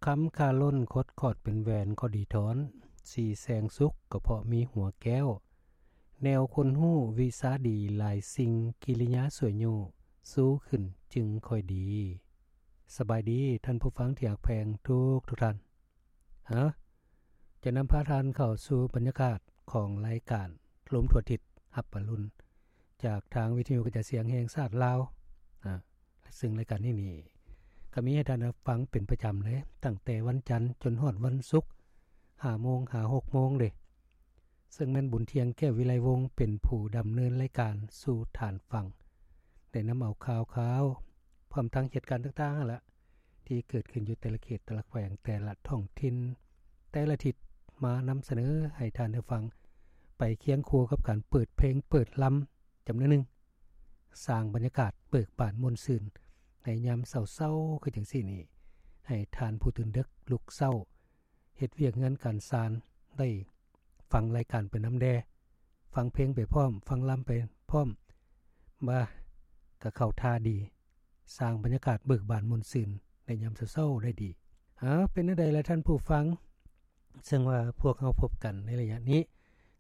ຄຳຄາລົ້ນ ຄົດຂອດເປັນແຫວນກໍດີທອນ, ສີແສງສຸກກໍເພາະມີຫົວແກ້ວ, ແນວຄົນຮູ້ວິຊາດີຫຼາຍສິ່ງ, ກິລິຍາສວຍຍູ້ ຊູຂຶ້ນຈຶ່ງຄ່ອຍດີ. ສະບາຍດີທ່ານຜູ້ຟັງທີ່ຮັກແພງທຸກໆທ່ານ. ຮະ ຈະນຳພາທ່ານເຂົ້າສູ່ບັນຍາກາດຂອງລາຍການລົມທົ່ວທິດຮັບອະລຸນ ຈາກທາງວິທະຍຸກະຈາຍສຽງແຫ່ງຊາດລາວ ອາ ຊຶ່ງລາຍການນີ້ນີ້ ກໍມີໃຫ້ທ່ານໄດ້ຟັງເປັນປະຈຳເລີຍ ຕັ້ງແຕ່ວັນຈັນຈົນຮອດວັນສຸກ ຫ້າໂມງຫາຫົກໂມງເດ້. ເຊິ່ງແມ່ນບຸນທ່ຽງ ແກ້ວວິໄລວົງ ເປັນຜູ້ດຳເນີນລາຍການສູ່ທ່ານຟັງ ໄດ້ນຳເອົາຂ່າວຄາວ ພ້ອມທັງເຫດການຕ່າງໆຫັ້ນລະ ທີ່ເກີດຂຶ້ນຢູ່ແຕ່ລະເຂດ ແຕ່ລະແຂວງ ແຕ່ລະທ້ອງຖິ່ນ ແຕ່ລະທິດ ມານຳສະເໜີໃຫ້ທ່ານໄດ້ຟັງ ໄປຄຽງຄູ່ກັບການເປີດເພງເປີດລຳຈຳນວນໜຶ່ງ ສ້າງບັນຍາກາດເບີກບານມ່ວນຊື່ນໃນຍາມເຊົ້າໆຄືຈັ່ງຊີ້ນີ້ ໃຫ້ທ່ານຜູ້ຕື່ນເດິກລຸກເຊົ້າ ເຮັດວຽກເຮືອນການຊານ ໄດ້ຟັງລາຍການໄປນຳແດ່ ຟັງເພງໄປພ້ອມ ຟັງລຳໄປພ້ອມ ວ່າກະເຂົ້າທ່າດີ ສ້າງບັນຍາກາດເບີກບານມ່ວນຊື່ນໃນຍາມເຊົ້າໆໄດ້ດີ. ເອົາ ເປັນແນວໃດລະທ່ານຜູ້ຟັງ? ເຊິ່ງວ່າພວກເຮົາພົບກັນໃນໄລຍະນີ້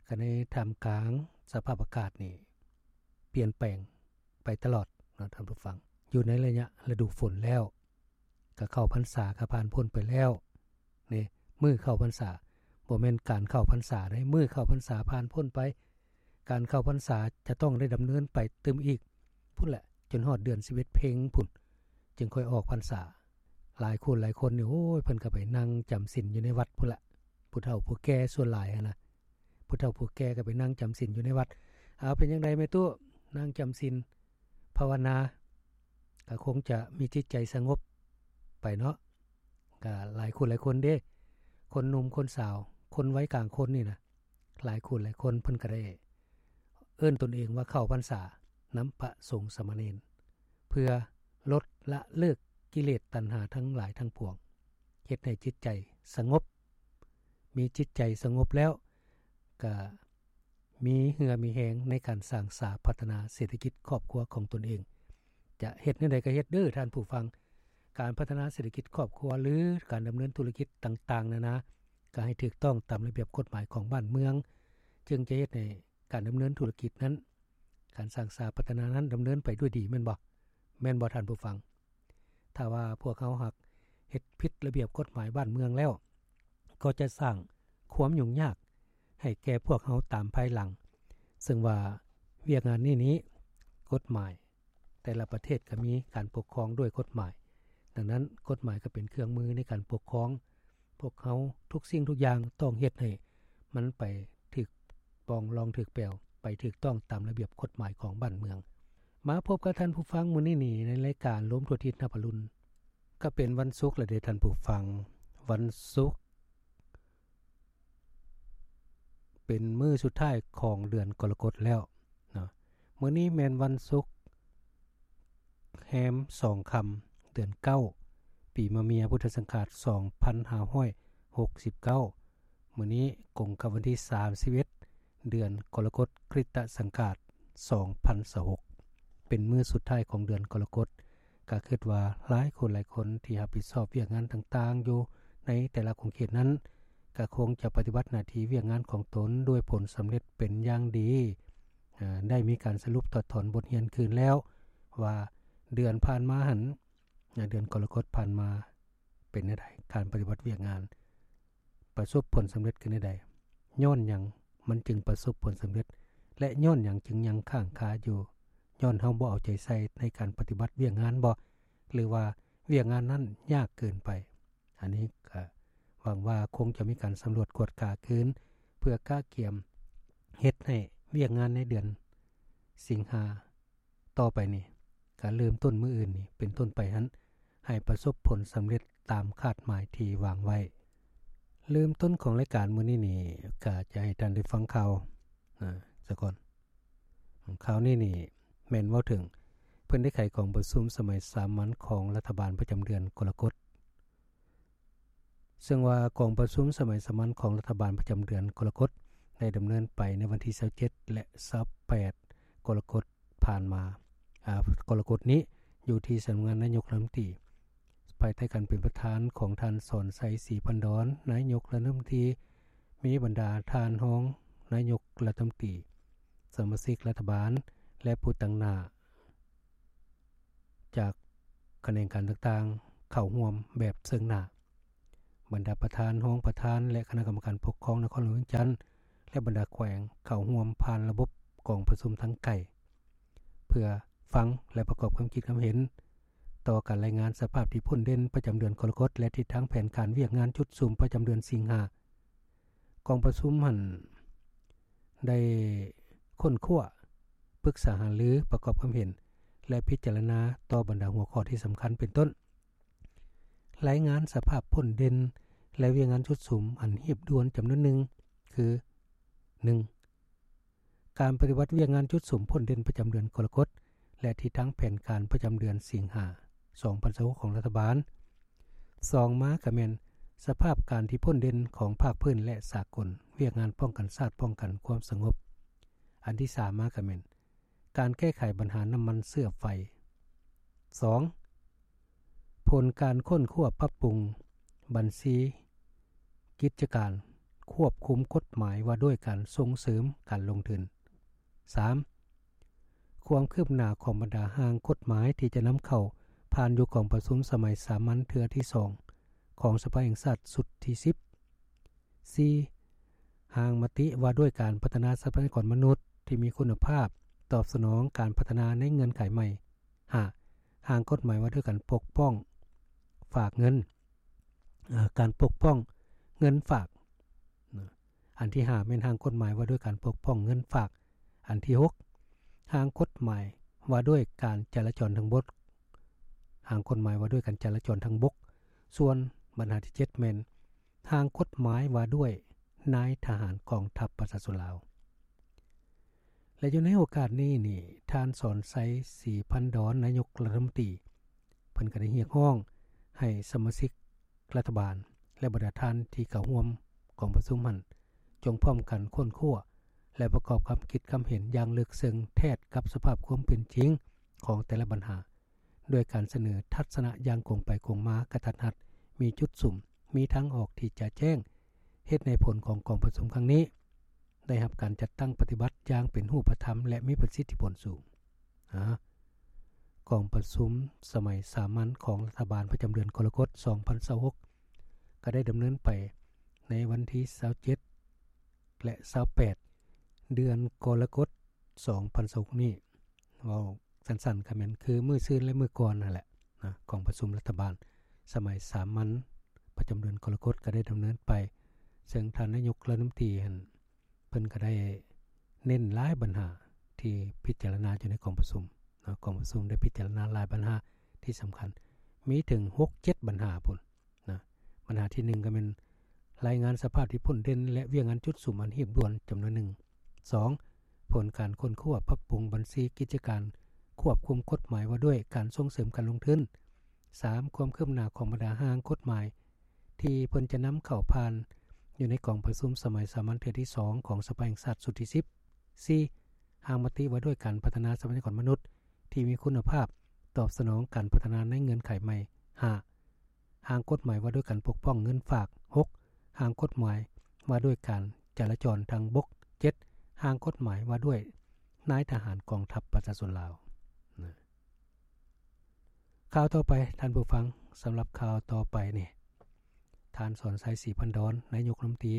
ກໍໃນທ່າມກາງສະພາບອາກາດນີ້ປ່ຽນແປງໄປຕະຫຼອດເນາະທ່ານຜູ້ຟັງ. ຢູ່ໃນໄລຍະລະດູຝົນແລ້ວ ກະເຂົ້າພັນສາ ກະຜ່ານພົ້ນໄປແລ້ວເດ້. ມື້ເຂົ້າພັນສາ ບໍ່ແມ່ນການເຂົ້າພັນສາເດ້ ມື້ເຂົ້າພັນສາຜ່ານພົ້ນໄປ. ການເຂົ້າພັນສາຈະຕ້ອງໄດ້ດຳເນີນໄປຕື່ມອີກພຸ້ນແຫຼະ ຈົນຮອດເດືອນສິບເອັດເພັງພຸ້ນ ຈຶ່ງຄ່ອຍອອກພັນສາ. ຫຼາຍຄົນຫຼາຍຄົນນີ້ ໂອ້ຍ ເພິ່ນກໍໄປນັ່ງຈຳສິນຢູ່ໃນວັດພຸ້ນລະ ຜູ້ເຖົ້າຜູ້ແກ່ສ່ວນຫຼາຍຫັ້ນນະ. ຜູ້ເຖົ້າຜູ້ແກ່ກໍໄປນັ່ງຈຳສິນຢູ່ໃນວັດ. ເອົາ ເປັນຈັ່ງໃດແມ່ຕູ້ ນັ່ງຈຳສິນພາວະນາ ກໍຄົງຈະມີຈິດໃຈສະຫງົບໄປເນາະ. ກໍຫຼາຍຄົນຫຼາຍຄົນເດ້ ຄົນໜຸ່ມຄົນສາວ ຄົນໄວກາງຄົນນີ້ນະ ຫຼາຍຄົນຫຼາຍຄົນເພິ່ນກໍໄດ້ເອີ້ນຕົນເອງວ່າເຂົ້າພັນສານຳພະສົງສາມະເນນ ເພື່ອລົດລະເລີກກິເລດຕັນຫາທັງຫຼາຍທັງປວງ ເຮັດໃຫ້ຈິດໃຈສະຫງົບ. ມີຈິດໃຈສະຫງົບແລ້ວ ກະມີເຫື່ອມີແຮງໃນການສ້າງສາພັດທະນາເສດຖະກິດຄອບຄົວຂອງຕົນເອງ. ຈະເຮັດແນວໃດກໍເຮັດເດີ້ທ່ານຜູ້ຟັງ, ການພັດທະນາເສດຖະກິດຄອບຄົວ ຫຼື ການດຳເນີນທຸລະກິດຕ່າງໆນານາ ກໍໃຫ້ຖືກຕ້ອງຕາມລະບຽບກົດໝາຍຂອງບ້ານເມືອງ, ຈຶ່ງຈະເຮັດໃຫ້ການດຳເນີນທຸລະກິດນັ້ນ, ການສ້າງສາພັດທະນານັ້ນດຳເນີນໄປດ້ວຍດີ ແມ່ນບໍ່? ແມ່ນບໍ່ທ່ານຜູ້ຟັງ? ຖ້າວ່າພວກເຮົາຫາກເຮັດຜິດລະບຽບກົດໝາຍບ້ານເມືອງແລ້ວ ກໍຈະສ້າງຄວາມຫຍຸ້ງຍາກໃຫ້ແກ່ພວກເຮົາຕາມພາຍຫຼັງ. ເຊິ່ງວ່າວຽກງານນີ້ນີ້ ກົດໝາຍແຕ່ລະປະເທດກໍມີການປົກຄອງດ້ວຍກົດໝາຍ, ດັ່ງນັ້ນ ກົດໝາຍກໍເປັນເຄື່ອງມືໃນການປົກຄອງ. ພວກເຮົາທຸກສິ່ງທຸກຢ່າງຕ້ອງເຮັດໃຫ້ມັນໄປຖືກປ່ອງລອງຖືກແປວ, ໄປຖືກຕ້ອງຕາມລະບຽບກົດໝາຍຂອງບ້ານເມືອງ. ມາພົບກັບທ່ານຜູ້ຟັງມື້ນີ້ນີ້ ໃນລາຍການລົມທົ່ວທິດຮັບອະລຸນ. ກໍເປັນວັນສຸກແລ້ວເດ້ທ່ານຜູ້ຟັງ, ວັນສຸກເປັນມື້ສຸດທ້າຍຂອງເດືອນກໍລະກົດແລ້ວເນາະ. ມື້ນີ້ແມ່ນວັນສຸກ ແຮມສອງຄ່ຳ ເດືອນເກົ້າ ປີມະເມຍ ພຸດທະສັງກາດ ສອງພັນຫ້າຮ້ອຍຫົກສິບເກົ້າ. ມື້ນີ້ກົງກັບວັນທີສາມສິບເອັດ ເດືອນກໍລະກົດ ຄຣິສຕະສັງກາດ ສອງພັນຊາວຫົກ ເປັນມື້ສຸດທ້າຍຂອງເດືອນກໍລະກົດ. ກະຄິດວ່າຫຼາຍຄົນຫຼາຍຄົນທີ່ຮັບຜິດຊອບວຽກງານຕ່າງໆຢູ່ໃນແຕ່ລະຂົງເຂດນັ້ນ ກະຄົງຈະປະຕິບັດໜ້າທີ່ວຽກງານຂອງຕົນດ້ວຍຜົນສຳເລັດເປັນຢ່າງດີ. ອາ ໄດ້ມີການສະຫຼຸບຖອດຖອນບົດຮຽນຄືນແລ້ວວ່າ ເດືອນຜ່ານມາຫັ້ນ ອາ ເດືອນກໍລະກົດຜ່ານມາເປັນແນວໃດ? ການປະຕິບັດວຽກງານປະສົບຜົນສຳເລັດຄືແນວໃດ? ຍ້ອນຫຍັງມັນຈຶ່ງປະສົບຜົນສຳເລັດ ແລະ ຍ້ອນຫຍັງຈຶ່ງຍັງຄ້າງຄາຢູ່? ຍ້ອນເຮົາບໍ່ເອົາໃຈໃສ່ໃນການປະຕິບັດວຽກງານບໍ? ຫຼືວ່າວຽກງານນັ້ນຍາກເກີນໄປ? ອັນນີ້ກະຫວັງວ່າຄົງຈະມີການສຳຫຼວດກວດກາຄືນ ເພື່ອກະກຽມເຮັດໃຫ້ວຽກງານໃນເດືອນສິງຫາຕໍ່ໄປນີ້ ກະເລີ່ມຕົ້ນມື້ອື່ນນີ້ເປັນຕົ້ນໄປຫັ້ນ ໃຫ້ປະສົບຜົນສຳເລັດຕາມຄາດໝາຍທີ່ວາງໄວ້. ເລີ່ມຕົ້ນຂອງລາຍການມື້ນີ້ນີ້ ກະຈະໃຫ້ທ່ານໄດ້ຟັງຂ່າວ ອາ ສາກ່ອນ. ຂ່າວນີ້ນີ້ແມ່ນເວົ້າເຖິງ ເພິ່ນໄດ້ໄຂກອງປະຊຸມສະໄໝສາມັນຂອງລັດຖະບານປະຈຳເດືອນກໍລະກົດ. ເຊິ່ງວ່າກອງປະຊຸມສະໄໝສາມັນຂອງລັດຖະບານປະຈຳເດືອນກໍລະກົດ ໄດ້ດຳເນີນໄປໃນວັນທີຊາວເຈັດ ແລະ ຊາວແປດ ກໍລະກົດຜ່ານມາ ອາ ກໍລະກົດນີ້ ຢູ່ທີ່ສຳນັກງານນາຍົກລັດຖະມົນຕີ. ພາຍໃຕ້ການເປັນປະທານຂອງທ່ານ ສອນໄຊ ສີພັນດອນ ນາຍົກລັດຖະມົນຕີ, ມີບັນດາທ່ານຮອງນາຍົກລັດຖະມົນຕີ, ສະມາຊິກລັດຖະບານ ແລະ ຜູ້ຕາງໜ້າຈາກຂະແໜງການຕ່າງໆ ເຂົ້າຮ່ວມແບບເຊິ່ງໜ້າ. ບັນດາປະທານ, ຮອງປະທານ ແລະ ຄະນະກຳມະການປົກຄອງນະຄອນຫຼວງວຽງຈັນ ແລະ ບັນດາແຂວງເຂົ້າຮ່ວມຜ່ານລະບົບກອງປະຊຸມທາງໄກ ເພື່ອຟັງ ແລະ ປະກອບຄວາມຄິດຄວາມເຫັນຕໍ່ການລາຍງານສະພາບທີ່ພົ້ນເດັ່ນປະຈຳເດືອນກໍລະກົດ ແລະ ທິດທາງແຜນການວຽກງານຈຸດສຸມປະຈຳເດືອນສິງຫາ. ກອງປະຊຸມຫັ້ນໄດ້ຄົ້ນຄວ້າ, ປຶກສາຫາລື, ປະກອບຄວາມເຫັນ ແລະ ພິຈາລະນາຕໍ່ບັນດາຫົວຂໍ້ທີ່ສຳຄັນ ເປັນຕົ້ນ ລາຍງານສະພາບພົ້ນເດັ່ນ ແລະ ວຽກງານຈຸດສຸມອັນຮີບດ່ວນຈຳນວນໜຶ່ງ ຄື ໜຶ່ງ ການປະຕິບັດວຽກງານຈຸດສຸມພົ້ນເດັ່ນປະຈຳເດືອນກໍລະກົດ ແລະ ທິດທາງແຜນການປະຈຳເດືອນສິງຫາ ສອງພັນຊາວຫົກ ຂອງລັດຖະບານ. ສອງມາກະແມ່ນສະພາບການທີ່ພົ້ນເດັ່ນຂອງພາກພື້ນ ແລະ ສາກົນ, ວຽກງານປ້ອງກັນຊາດ, ປ້ອງກັນຄວາມສະຫງົບ. ອັນທີສາມມາກະແມ່ນ ການແກ້ໄຂບັນຫານ້ຳມັນເຊື້ອໄຟ. ສອງ ຜົນການຄົ້ນຄວ້າປັບປຸງບັນຊີກິດຈະການຄວບຄຸມກົດໝາຍວ່າດ້ວຍການສົ່ງເສີມການລົງທຶນ. ສາມ ຄວາມຄືບໜ້າຂອງບັນດາຮ່າງກົດໝາຍທີ່ຈະນຳເຂົ້າຜ່ານຢູ່ກອງປະຊຸມສະໄໝສາມັນເທື່ອທີສອງຂອງສະພາແຫ່ງຊາດຊຸດທີສິບ. ສີ່ ຮ່າງມະຕິວ່າດ້ວຍການພັດທະນາຊັບພະຍາກອນມະນຸດທີ່ມີຄຸນນະພາບຕອບສະໜອງການພັດທະນາໃນເງື່ອນໄຂໃໝ່. ຫ້າ ຮ່າງກົດໝາຍວ່າດ້ວຍການປົກປ້ອງຝາກເງິນ, ເອີ ການປົກປ້ອງເງິນຝາກ. ອັນທີຫ້າແມ່ນຮ່າງກົດໝາຍວ່າດ້ວຍການປົກປ້ອງເງິນຝາກ. ອັນທີຫົກ ຮ່າງກົດໝາຍວ່າດ້ວຍການຈະລາຈອນທາງບົກ, ຮ່າງກົດໝາຍວ່າດ້ວຍການຈະລາຈອນທາງບົກ. ສ່ວນບັນຫາທີເຈັດແມ່ນ ຮ່າງກົດໝາຍວ່າດ້ວຍນາຍທະຫານກອງທັບປະຊາຊົນລາວ. ແລະ ຢູ່ໃນໂອກາດນີ້ນີ້ ທ່ານ ສອນໄຊ ສີພັນດອນ ນາຍົກລັດຖະມົນຕີ ເພິ່ນກໍໄດ້ຮຽກຮ້ອງໃຫ້ສະມາຊິກລັດຖະບານ ແລະ ບັນດາທ່ານທີ່ເຂົ້າຮ່ວມກອງປະຊຸມຫັ້ນ ຈົ່ງພ້ອມກັນຄົ້ນຄວ້າ ແລະ ປະກອບຄຳຄິດຄຳເຫັນຢ່າງເລິກເຊິ່ງແທດກັບສະພາບຄວາມເປັນຈິງຂອງແຕ່ລະບັນຫາ ດ້ວຍການສະເໜີທັດສະນະຢ່າງກົງໄປກົງມາ, ກະທັດຮັດ, ມີຈຸດສຸມ, ມີທາງອອກທີ່ຈະແຈ້ງ, ເຮັດໃຫ້ຜົນຂອງກອງປະຊຸມຄັ້ງນີ້ໄດ້ຮັບການຈັດຕັ້ງປະຕິບັດຢ່າງເປັນຮູບປະທຳ ແລະ ມີປະສິດທິຜົນສູງ. ອາ, ກອງປະຊຸມສະໄໝສາມັນຂອງລັດຖະບານປະຈຳເດືອນກໍລະກົດ ສອງພັນຊາວຫົກ ກໍໄດ້ດຳເນີນໄປໃນວັນທີຊາວເຈັດ ແລະ ຊາວແປດ ເດືອນກໍລະກົດ ສອງພັນຊາວຫົກນີ້. ເວົ້າ ສັ້ນໆ ກໍແມ່ນຄືມື້ຊືນ ແລະ ມື້ກ່ອນນັ້ນແຫຼະນະ, ກອງປະຊຸມລັດຖະບານສະໄໝສາມັນປະຈຳເດືອນກໍລະກົດກໍໄດ້ດຳເນີນໄປ, ເຊິ່ງທ່ານນາຍົກລັດຖະມົນຕີຫັ້ນ ເພິ່ນກໍໄດ້ເນັ້ນຫຼາຍບັນຫາທີ່ພິຈາລະນາຢູ່ໃນກອງປະຊຸມເນາະ. ກອງປະຊຸມໄດ້ພິຈາລະນາຫຼາຍບັນຫາທີ່ສຳຄັນ, ມີເຖິງຫົກເຈັດບັນຫາພຸ້ນ. ນະ, ບັນຫາທີໜຶ່ງກໍແມ່ນລາຍງານສະພາບທີ່ພົ້ນເດັ່ນ ແລະ ວຽກງານຈຸດສຸມອັນຮີບດ່ວນຈຳນວນໜຶ່ງ. ສອງ ຜົນການຄົ້ນຄວ້າປັບປຸງບັນຊີກິດຈະການຄວບຄຸມກົດໝາຍວ່າດ້ວຍການສົ່ງເສີມການລົງທຶນ. ສາມ ຄວາມຄືບໜ້າຂອງບັນດາຮ່າງກົດໝາຍທີ່ເພິ່ນຈະນຳເຂົ້າຜ່ານຢູ່ໃນກອງປະຊຸມສະໄໝສາມັນເທື່ອທີສອງຂອງສະພາແຫ່ງຊາດຊຸດທີສິບ. ສີ່ ຮ່າງມະຕິວ່າດ້ວຍການພັດທະນາຊັບພະຍາກອນມະນຸດທີ່ມີຄຸນນະພາບຕອບສະໜອງການພັດທະນາໃນເງື່ອນໄຂໃໝ່. ຫ້າ ຮ່າງກົດໝາຍວ່າດ້ວຍການປົກປ້ອງເງິນຝາກ. ຫົກ ຮ່າງກົດໝາຍວ່າດ້ວຍການຈະລາຈອນທາງບົກ. ເຈັດ ຮ່າງກົດໝາຍວ່າດ້ວຍນາຍທະຫານກອງທັບປະຊາຊົນລາວ. ນະ, ຂ່າວຕໍ່ໄປທ່ານຜູ້ຟັງ, ສຳລັບຂ່າວຕໍ່ໄປນີ້ ທ່ານ ສອນໄຊ ສີພັນດອນ ນາຍົກລັດຖະມົນຕີ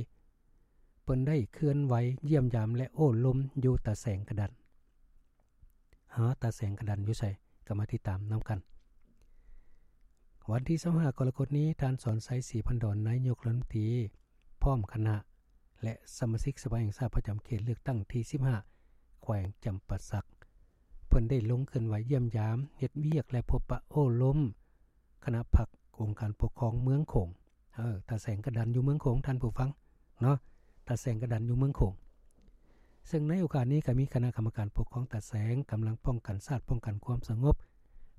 ເພິ່ນໄດ້ເຄື່ອນໄຫວຢ້ຽມຢາມ ແລະ ໂອ້ລົມຢູ່ຕາແສງກະດັນ. ຫາ ຕາແສງກະດັນຢູ່ໃສ? ກໍມາຕິດຕາມນຳກັນ. ວັນທີຊາວຫ້າ ກໍລະກົດນີ້, ທ່ານ ສອນໄຊ ສີພັນດອນ ນາຍົກລັດຖະມົນຕີ ພ້ອມຄະນະ ແລະ ສະມາຊິກສະພາແຫ່ງຊາດປະຈຳເຂດເລືອກຕັ້ງທີສິບຫ້າ ແຂວງຈຳປາສັກ ເພິ່ນໄດ້ລົງເຄື່ອນໄຫວຢ້ຽມຢາມ, ເຮັດວຽກ ແລະ ພົບປະໂອ້ລົມຄະນະພັກອົງການປົກຄອງເມືອງໂຂງ. ເອີ ຕາແສງກະດັນຢູ່ເມືອງໂຂງ, ທ່ານຜູ້ຟັງເນາະ, ຕາແສງກະດັນຢູ່ເມືອງໂຂງ. ເຊິ່ງໃນໂອກາດນີ້ກໍມີຄະນະກຳມະການປົກຄອງຕາແສງ, ກຳລັງປ້ອງກັນຊາດ, ປ້ອງກັນຄວາມສະຫງົບ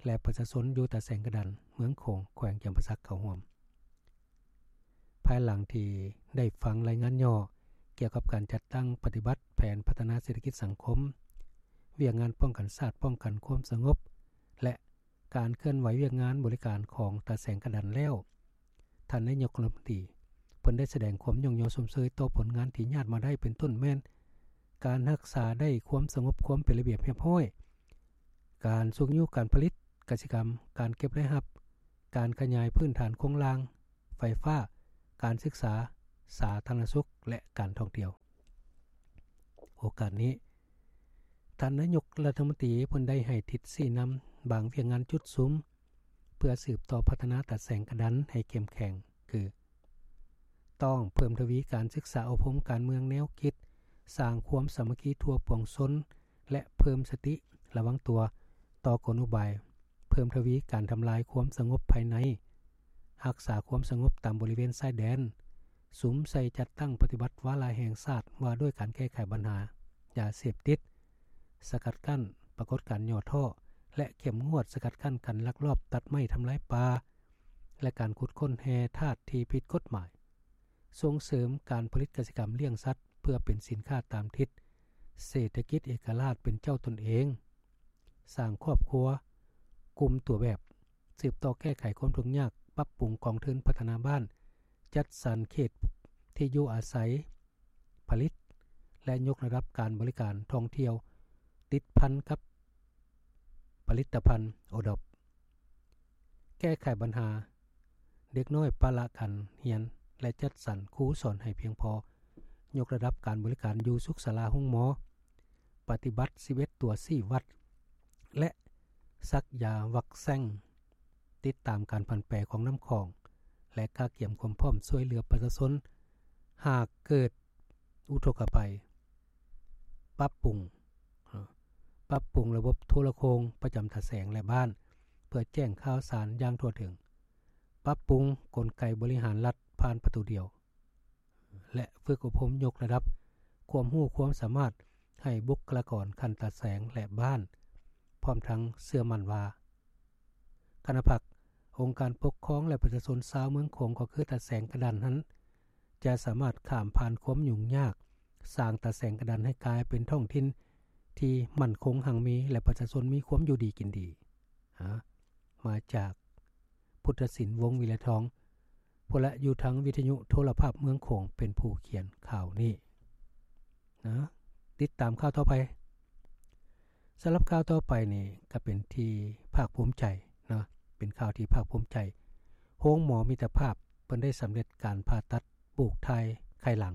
ແລະ ປະຊາຊົນຢູ່ຕາແສງກະດັນ, ເມືອງໂຂງ, ແຂວງຈຳປາສັກ ເຂົ້າຮ່ວມ. ພາຍຫຼັງທີ່ໄດ້ຟັງລາຍງານຫຍໍ້ກ່ຽວກັບການຈັດຕັ້ງປະຕິບັດແຜນພັດທະນາເສດຖະກິດສັງຄົມ, ວຽກງານປ້ອງກັນຊາດ, ປ້ອງກັນຄວາມສະຫງົບ ແລະ ການເຄື່ອນໄຫວວຽກງານບໍລິການຂອງຕາແສງກະດັນແລ້ວ, ທ່ານນາຍົກລັດຖະມົນຕີເພິ່ນໄດ້ສະແດງຄວາມຍ້ອງຍໍຊົມເຊີຍຕໍ່ຜົນງານທີ່ຍາດມາໄດ້ ເປັນຕົ້ນແມ່ນການຮັກສາໄດ້ຄວາມສະຫງົບ, ຄວາມເປັນລະບຽບຮຽບຮ້ອຍ, ການຊຸກຍູ້ການຜະລິດກະສິກຳ, ການເກັບລາຍຮັບ, ການຂະຫຍາຍພື້ນຖານໂຄງລ່າງ, ໄຟຟ້າ, ການສຶກສາ, ສາທາລະນະສຸກ ແລະ ການທ່ອງທ່ຽວ. ໂອກາດນີ້, ທ່ານນາຍົກລັດຖະມົນຕີເພິ່ນໄດ້ໃຫ້ທິດຊີ້ນຳບາງວຽກງານຈຸດສຸມ ເພື່ອສືບຕໍ່ພັດທະນາຕາແສງກະດັນໃຫ້ເຂັ້ມແຂງ ຄື: ຕ້ອງເພີ່ມທະວີການສຶກສາອົບຮົມການເມືອງແນວຄິດ, ສ້າງຄວາມສາມັກຄີທົ່ວປວງຊົນ ແລະ ເພີ່ມສະຕິລະວັງຕົວຕໍ່ກົນອຸບາຍ, ເພີ່ມທະວີການທຳລາຍຄວາມສະຫງົບພາຍໃນ, ຮັກສາຄວາມສະຫງົບຕາມບໍລິເວນຊາຍແດນ, ສຸມໃສ່ຈັດຕັ້ງປະຕິບັດວາລະແຫ່ງຊາດວ່າດ້ວຍການແກ້ໄຂບັນຫາຢາເສບຕິດ, ສະກັດກັ້ນປາກົດການຫຍໍ້ທໍ້ ແລະ ເຂັ້ມງວດສະກັດກັ້ນການລັກລອບຕັດໄມ້ທຳລາຍປ່າ ແລະ ການຂຸດຄົ້ນແຮ່ທາດທີ່ຜິດກົດໝາຍ, ສົ່ງເສີມການຜະລິດກະສິກຳລ້ຽງສັດເພື່ອເປັນສິນຄ້າຕາມທິດເສດຖະກິດເອກະລາດເປັນເຈົ້າຕົນເອງ, ສ້າງຄອບຄົວກຸ່ມຕົວແບບ, ສືບຕໍ່ແກ້ໄຂຄວາມທຸກຍາກ, ປັບປຸງກອງທຶນພັດທະນາບ້ານ, ຈັດສັນເຂດທີ່ຢູ່ອາໄສ, ຜະລິດ ແລະ ຍົກລະດັບການບໍລິການທ່ອງທ່ຽວຕິດພັນກັບຜະລິດຕະພັນໂອດອບ, ແກ້ໄຂບັນຫາເດັກນ້ອຍປະລະການຮຽນ ແລະ ຈັດສັນຄູສອນໃຫ້ພຽງພໍ, ຍົກລະດັບການບໍລິການຢູ່ສຸກສາລາໂຮງໝໍ, ປະຕິບັດສິບເອັດຕົວຊີ້ວັດ ແລະ ສັກຢາວັກແຊງ, ຕິດຕາມການຜັນແປຂອງນ້ຳຂອງ ແລະ ກະກຽມຄວາມພ້ອມຊ່ວຍເຫຼືອປະຊາຊົນ ຫາກເກີດອຸທົກກະໄພ, ປັບປຸງ, ປັບປຸງລະບົບໂທລະໂຄ່ງປະຈຳຕາແສງ ແລະ ບ້ານ ເພື່ອແຈ້ງຂ່າວສານຢ່າງທົ່ວເຖິງ, ປັບປຸງກົນໄກບໍລິຫານລັດຜ່ານປະຕູດຽວ ແລະ ຝຶກອົບຮົມຍົກລະດັບຄວາມຮູ້ຄວາມສາມາດໃຫ້ບຸກຄະລາກອນຂັ້ນຕາແສງ ແລະ ບ້ານ, ພ້ອມທັງເຊື່ອໝັ້ນວ່າ ຄະນະພັກ, ອົງການປົກຄອງ ແລະ ປະຊາຊົນຊາວເມືອງໂຂງ ກໍຄືຕາແສງກະດັນນັ້ນ ຈະສາມາດຂ້າມຜ່ານຄວາມຫຍຸ້ງຍາກ, ສ້າງຕາແສງກະດັນໃຫ້ກາຍເປັນທ້ອງຖິ່ນທີ່ໝັ້ນຄົງຮັ່ງມີ ແລະ ປະຊາຊົນມີຄວາມຢູ່ດີກິນດີ. ຫາ ມາຈາກ ພຸດທະສິນ ວົງວິໄລທອງ ຜູ້ລະຢູ່ທາງວິທະຍຸໂທລະພາບເມືອງໂຂງ ເປັນຜູ້ຂຽນຂ່າວນີ້ນະ. ຕິດຕາມຂ່າວຕໍ່ໄປ. ສຳລັບຂ່າວຕໍ່ໄປນີ້ກໍເປັນທີ່ພາກພູມໃຈເນາະ, ເປັນຂ່າວທີ່ພາກພູມໃຈ. ໂຮງໝໍມິດຕະພາບເພິ່ນໄດ້ສຳເລັດການຜ່າຕັດປູກຖ່າຍໄຂ່ຫຼັງ.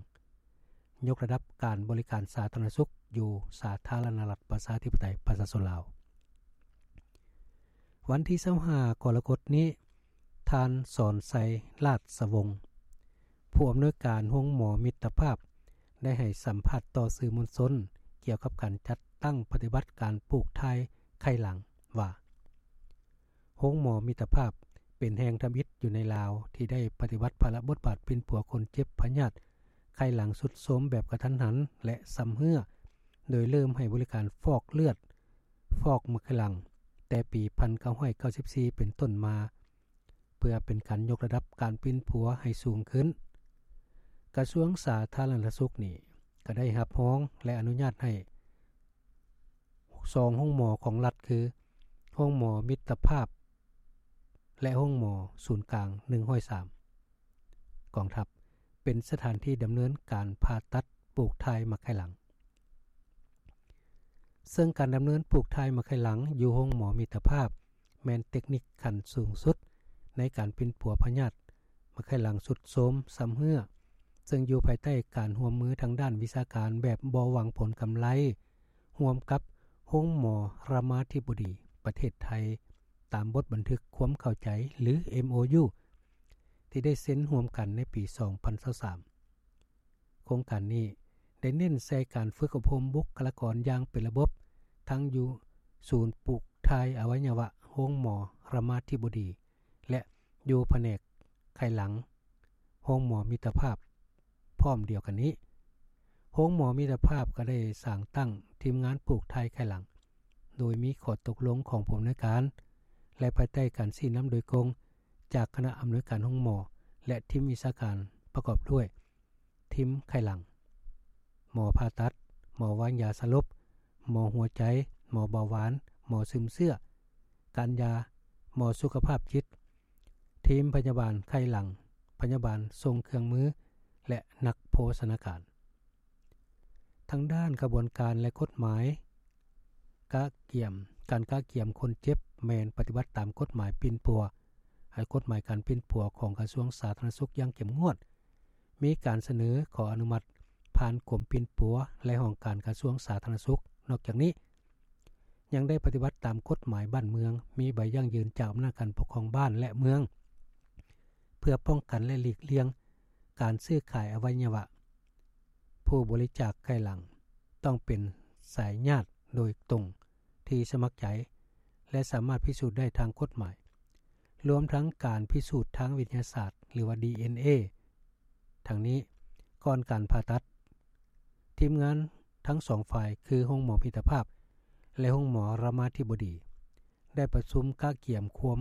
ຍົກລະດັບການບໍລິການສາທາລະນະສຸກຢູ່ສາທາລະນະລັດປະຊາທິປະໄຕປະຊາຊົນລາວ. ວັນທີຊາວຫ້າ ກໍລະກົດນີ້, ທ່ານ ສອນໄຊ ລາດສະວົງ, ຜູ້ອຳນວຍການໂຮງໝໍມິດຕະພາບ ໄດ້ໃຫ້ສຳພາດຕໍ່ສື່ມວນຊົນກ່ຽວກັບການຈັດຕັ້ງປະຕິບັດການປູກຖ່າຍໄຂ່ຫຼັງວ່າ, ໂຮງໝໍມິດຕະພາບເປັນແຫ່ງທຳອິດຢູ່ໃນລາວທີ່ໄດ້ປະຕິບັດພາລະບົດບາດປິ່ນປົວຄົນເຈັບພະຍາດໄຂ່ຫຼັງຊຸດໂຊມແບບກະທັນຫັນ ແລະ ຊຳເຮື້ອ, ໂດຍເລີ່ມໃຫ້ບໍລິການຟອກເລືອດ, ຟອກໝາກໄຂ່ຫຼັງ ແຕ່ປີພັນເກົ້າຮ້ອຍເກົ້າສິບສີ່ເປັນຕົ້ນມາ, ເພື່ອເປັນການຍົກລະດັບການປິ່ນປົວໃຫ້ສູງຂຶ້ນ. ກະຊວງສາທາລະນະສຸກນີ້ກໍໄດ້ຮັບຮອງ ແລະ ອະນຸຍາດໃຫ້ ສອງໂຮງໝໍຂອງລັດ ຄື ໂຮງໝໍມິດຕະພາບ ແລະ ໂຮງໝໍສູນກາງໜຶ່ງຮ້ອຍສາມ ກອງທັບ ເປັນສະຖານທີ່ດຳເນີນການຜ່າຕັດປູກຖ່າຍໝາກໄຂ່ຫຼັງ. ເຊິ່ງການດຳເນີນປູກຖ່າຍໝາກໄຂ່ຫຼັງຢູ່ໂຮງໝໍມິດຕະພາບ ແມ່ນເຕັກນິກຂັ້ນສູງສຸດໃນການປິ່ນປົວພະຍາດໝາກໄຂ່ຫຼັງຊຸດໂຊມຊຳເຮື້ອ, ເຊິ່ງຢູ່ພາຍໃຕ້ການຮ່ວມມືທາງດ້ານວິຊາການແບບບໍ່ຫວັງຜົນກຳໄລ ຮ່ວມກັບໂຮງໝໍຣາມາທິບໍດີ ປະເທດໄທ ຕາມບົດບັນທຶກຄວາມເຂົ້າໃຈ ຫຼື ເອັມໂອຢູ ທີ່ໄດ້ເຊັນຮ່ວມກັນໃນປີສອງພັນຊາວສາມ. ໂຄງການນີ້ໄດ້ເນັ້ນໃສ່ການຝຶກອົບຮົມບຸກຄະລາກອນຢ່າງເປັນລະບົບ, ທັງຢູ່ສູນປູກຖ່າຍອະໄວຍະວະໂຮງໝໍຣາມາທິບໍດີ ແລະ ຢູ່ພະແນກໄຂ່ຫຼັງ ໂຮງໝໍມິດຕະພາບ. ພ້ອມດຽວກັນນີ້, ໂຮງໝໍມິດຕະພາບກໍໄດ້ສ້າງຕັ້ງທີມງານປູກຖ່າຍໄຂ່ຫຼັງ, ໂດຍມີຂໍ້ຕົກລົງຂອງຜູ້ອຳນວຍການ ແລະ ພາຍໃຕ້ການຊີ້ນຳໂດຍກົງຈາກຄະນະອຳນວຍການໂຮງໝໍ ແລະ ທີມວິຊາການປະກອບດ້ວຍ ທີມໄຂ່ຫຼັງ, ໝໍຜ່າຕັດ, ໝໍວາງຢາສະຫຼົບ, ໝໍຫົວໃຈ, ໝໍເບົາຫວານ, ໝໍຊຶມເຊື້ອ, ການຢາ, ໝໍສຸຂະພາບຈິດ, ທີມພະຍາບານໄຂ້ຫຼັງ, ພະຍາບານສົ່ງເຄື່ອງມື ແລະ ນັກໂພຊະນາການ. ທາງດ້ານຂະບວນການ ແລະ ກົດໝາຍ ກະກຽມ, ການກະກຽມຄົນເຈັບແມ່ນປະຕິບັດຕາມກົດໝາຍປິ່ນປົວ, ໃຫ້ກົດໝາຍການປິ່ນປົວຂອງກະຊວງສາທາລະນະສຸກຢ່າງເຂັ້ມງວດ, ມີການສະເໜີຂໍອະນຸມັດຜ່ານກົມປິ່ນປົວ ແລະ ຫ້ອງການກະຊວງສາທາລະນະສຸກ. ນອກຈາກນີ້ ຍັງໄດ້ປະຕິບັດຕາມກົດໝາຍບ້ານເມືອງ, ມີໃບຢັ້ງຢືນຈາກອຳນາດການປົກຄອງບ້ານ ແລະ ເມືອງ ເພື່ອປ້ອງກັນ ແລະ ຫຼີກລ່ຽງການຊື້ຂາຍອະໄວຍະວະ. ຜູ້ບໍລິຈາກໄຂ້ຫຼັງຕ້ອງເປັນສາຍຍາດໂດຍຕົງທີ່ສະໝັກໃຈ ແລະ ສາມາດພິສູດໄດ້ທາງກົດໝາຍ, ລວມທັງການພິສູດທາງວິທະຍາສາດ ຫຼືວ່າ ດີເອັນເອ. ທັງນີ້, ກ່ອນການຜ່າຕັດ, ທີມງານທັງສອງຝ່າຍ ຄືໂຮງໝໍມິດຕະພາບ ແລະ ໂຮງໝໍລາມາທິບໍດີ ໄດ້ປະຊຸມກະກຽມຄວາມ,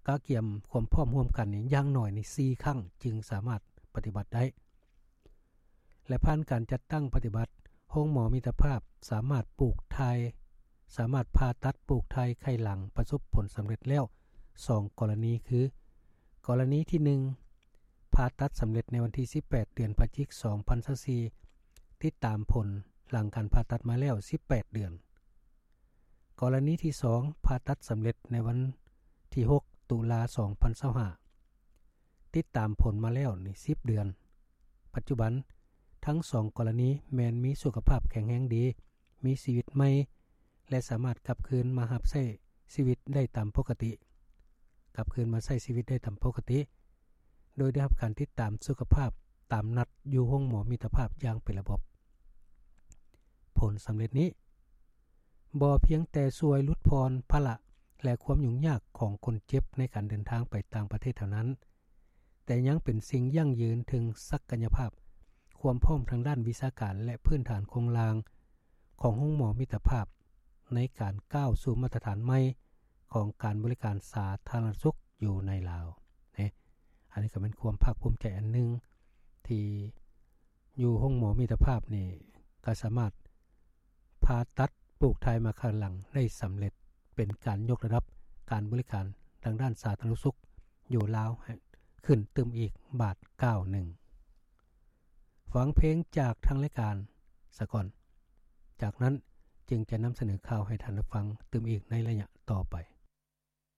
ກະກຽມຄວາມພ້ອມຮ່ວມກັນນີ້ ຢ່າງໜ້ອຍນີ້ສີ່ຄັ້ງ ຈຶ່ງສາມາດປະຕິບັດໄດ້. ແລະ ຜ່ານການຈັດຕັ້ງປະຕິບັດ, ໂຮງໝໍມິດຕະພາບສາມາດປູກຖ່າຍ, ສາມາດຜ່າຕັດປູກຖ່າຍໄຂ້ຫຼັງປະສົບຜົນສຳເລັດແລ້ວສອງກໍລະນີ ຄື ກໍລະນີທີໜຶ່ງ ຜ່າຕັດສຳເລັດໃນວັນທີສິບແປດ ເດືອນພະຈິກ ສອງພັນຊາວສີ່ ຕິດຕາມຜົນຫຼັງການຜ່າຕັດມາແລ້ວສິບແປດເດືອນ. ກໍລະນີທີສອງ ຜ່າຕັດສຳເລັດໃນວັນທີຫົກ ຕຸລາ ສອງພັນຊາວຫ້າ ຕິດຕາມຜົນມາແລ້ວນີ້ສິບເດືອນ. ປັດຈຸບັນ, ທັງສອງກໍລະນີແມ່ນມີສຸຂະພາບແຂງແຮງດີ, ມີຊີວິດໃໝ່ ແລະ ສາມາດກັບຄືນມາຮັບໃຊ້ຊີວິດໄດ້ຕາມປົກກະຕິ, ກັບຄືນມາໃຊ້ຊີວິດໄດ້ຕາມປົກກະຕິ, ໂດຍໄດ້ຮັບການຕິດຕາມສຸຂະພາບຕາມນັດຢູ່ໂຮງໝໍມິດຕະພາບຢ່າງເປັນລະບົບ. ຜົນສຳເລັດນີ້ ບໍ່ພຽງແຕ່ຊ່ວຍຫຼຸດຜ່ອນພາລະ ແລະ ຄວາມຫຍຸ້ງຍາກຂອງຄົນເຈັບໃນການເດີນທາງໄປຕ່າງປະເທດເທົ່ານັ້ນ, ແຕ່ຍັງເປັນສິ່ງຢັ້ງຢືນເຖິງສັກກະຍະພາບ, ຄວາມພ້ອມທາງດ້ານວິຊາການ ແລະ ພື້ນຖານໂຄງລ່າງຂອງໂຮງໝໍມິດຕະພາບ ໃນການກ້າວສູ່ມາດຕະຖານໃໝ່ຂອງການບໍລິການສາທາລະນະສຸກຢູ່ໃນລາວ. ນີ້, ອັນນີ້ກໍເປັນຄວາມພາກພູມໃຈອັນໜຶ່ງທີ່ ຢູ່ໂຮງໝໍມິດຕະພາບນີ້ ກໍສາມາດຜ່າຕັດປູກຖ່າຍມາຂ້າງຫຼັງໄດ້ສຳເລັດ, ເປັນການຍົກລະດັບການບໍລິການທາງດ້ານສາທາລະນະສຸກຢູ່ລາວໃຫ້ຂຶ້ນຕື່ມອີກບາດກ້າວໜຶ່ງ. ຟັງເພງຈາກທາງລາຍການສາກ່ອນ, ຈາກນັ້ນຈຶ່ງຈະນຳສະເໜີຂ່າວໃຫ້ທ່ານໄດ້ຟັງຕື່ມອີກໃນໄລຍະຕໍ່ໄປ.